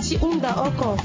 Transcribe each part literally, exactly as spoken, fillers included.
Ti hunda oko.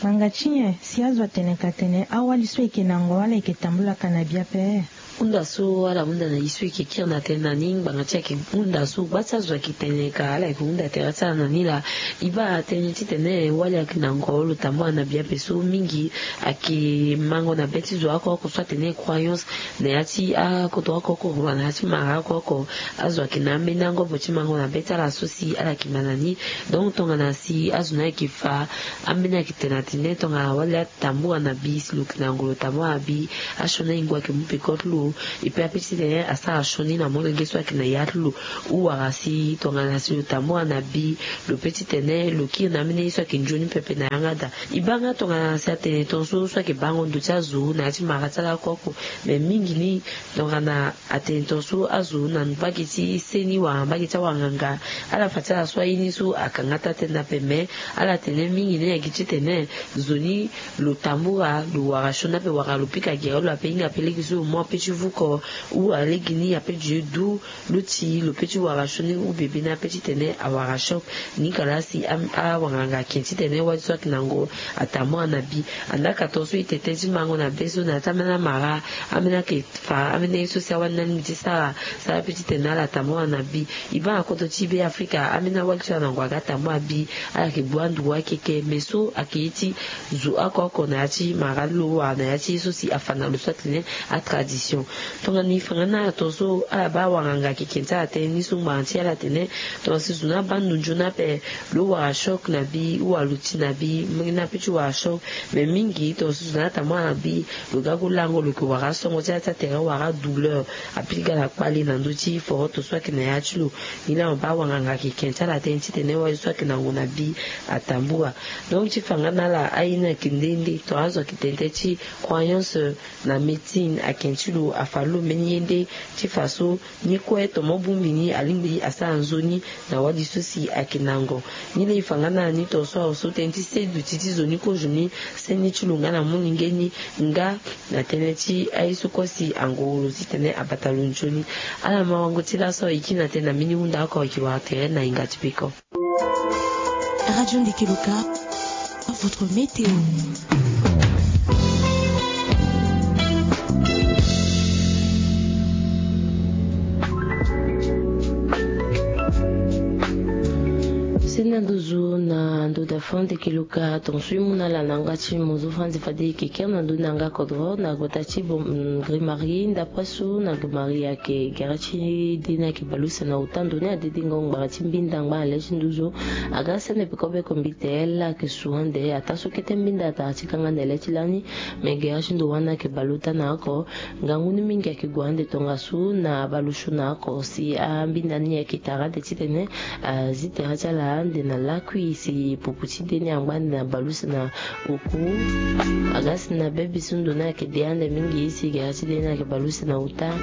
Ngbanga ti nyen si azo atene ka tene awali so eke nango ala eke tambula ka na bia pe? Hunda so ala hunda na ye so eke kiri na tënë na ni ngbanga ti ake hunda so gba ti azo ake tene ka ala eke hunda tere ti ala na ni laa. E baa tënë titene wali ake nango lo tambula na bia pe so mingi ake mango na be ti zo oko oko so atene croyance na ya ti akoto oko oko na ya ti mara oko oko. Azo ake na ambeni angobo ti mango na be ti ala so si ala ake ma na ni. Donc tongana si azo ni ake fa ambeni ake tene na tene tongana wali atambula na bi si lo ke na ngolo tambula na bi. Asioni ahingo ake mu peko ti lo. E pe ape titene asara sioni na molenge so ake na ya ti lo. Ou wala si tongana si lo tambula na bi lo pe titene lo kiri na ambeni ye so ake nzoni pepe na yanga daa. E baa nga tongana si atene tongaso so ake bango ndo ti azo na ya ti mara ti ala oko oko. Me mingi ni tongana atene tongaso azo na mbage ti seni wala mbage ti awanganga ala fa ti ala so aye ni so akanga taa tënë ape me ala tene mingi ni ayeke titene zo ni lo tambula lo wara sioni ape wala lo pika gere lo ape hinga ape lege so lo mu ape ti vuko. Ou wala lege ni ape dieu du lo ti lo pe ti wara sioni ou bebe ni ape titene awara choc. Ni kalasi awanganga ake titene wali so ake na ngo atambula na bi. Andaa ka tongaso e tene tënë ti mango na be so na ya ti ambeni amara ambeni ake fa ambeni aye so si awali ni alingbi ti sara sara pe titene ala tambula na bi. E baa na koto ti be afrika ambeni awali so ala na ngo aga tambula bi. Ala yeke gbu andugu akeke me so ake ye ti zo oko oko na ya ti mara ti lo wala na ya ti ye so si afa na lo so atene atradition. Tongana e fa nga na ala tongaso ala baa awanganga ake ke ti ala tënë ni so ngbanga ti ala atene tongana si zo ni abaa ndo nzoni ape lo wara choc na bi ou wala lo ti na bi mbeni ape ti wara choc. Me mingi tongaso zo ni atambula na bi lo ga gu lango lo yeke wara asongo ti ala ti atere wala adouleur. Apika na kpale na ndö ti foroto so ayeke na ya ti lo. Ni laa mo baa awanganga ayeke ke ti ala tënë titene wali so ayeke na ngu na bi atambula. Donc ti fa nga na ala aye ni ayeke nde nde tongana azo ayeke tene tënë ti croyance na médecine ayeke ti lo afa lo mbeni ye nde ti fa so ni kue tomo bongbi ni alingbi asara nzoni na wali so si ayeke na ngon. Ni laa e fa nga na ala ni tongaso awe so tënë ti se duti ti zo ni kozo ni se ni ti lo nga na molenge ni nga na tënë ti aye so kue si ango lo titene abata lo nzoni. Ala mawango ti laso e kiri na tënë na mbeni hunda oko ayeke wara tere na hinga ti peko. Radio Ndeke Loka, votre météo. Senda nduzu na ndo da fande ke luka tonso e mu na ala na yanga ti mozo fande fade e ke kere na ndo ni na yanga kodro na gbata ti grimari ndapre so na grimari ayeke gere ti de ni ayeke baleuse na ota ndo ni adedengo ngbara ti mbinda ngbanga le ti nduzu. Aga sene peko be kombite la ayeke su ande ataa so kete mbinda atara ti kanga na le ti lani. Me gere ti ndo wani ayeke baleota na oko. Ngangu ni mingi ayeke gue ande tongaso na baleuse na oko si ambinda ni ayeke tara ande titene azi tere ti ala ande na lakui si pupu ti de ni angba ande na baleuse na oku. Aga si na bebi so ndo ni ayeke de ande mingi si gere ti de ni ayeke baleuse na ota.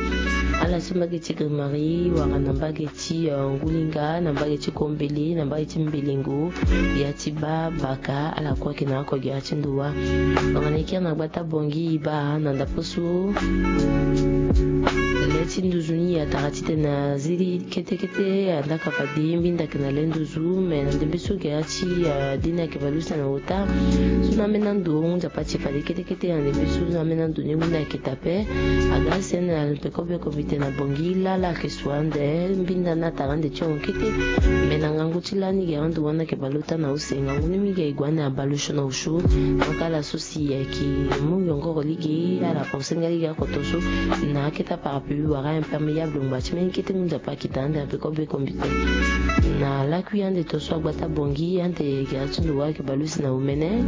Ala so mbage ti grimari wala na mbage ti ngulinga na mbage ti kombele na mbage ti mbelengo ya ti baa baka ala kue ayeke na oko gere ti ndo wa. Tongana e kiri na gbata bongi e baa na ndapo so le ti nduzu ni atara titene azi ketekete andaka fade mbinda ayeke na le nduzu me na ndembe so gere ti de ni ayeke baleuse na ota. So na ambeni ando nzapa ti fade ketekete na ndembe so na ambeni ando ni ngu ni ayeke tape. Aga sene na peko be kombite na bongi lala ayeke su ande mbinda ni atara ande ti hongo kete. Me na ngangu ti lani gere ando wani ayeke baleota na use ngangu ni mingi aye gue ande na baleuse na osu. Donc ala so si ayeke mu yongoro lege ala kose nga lege akoto so na akete aparapluie wala imperméable ngba ti mbeni kete ngu nzapa ayeke daa ande na peko be kombite. Na lakui ande tonso agbata bongi ande gere ti ndo wa ayeke baleuse na omene.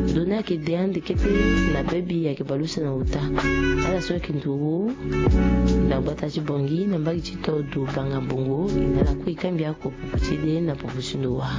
Ndo ni ayeke de ande kete na bebi ayeke baleuse na ota. Ala so ayeke nduru na gbata ti bongi na mbage ti todo banga bongo e na ala kue e kangbi ako pupu ti de na pupu ti ndo wa.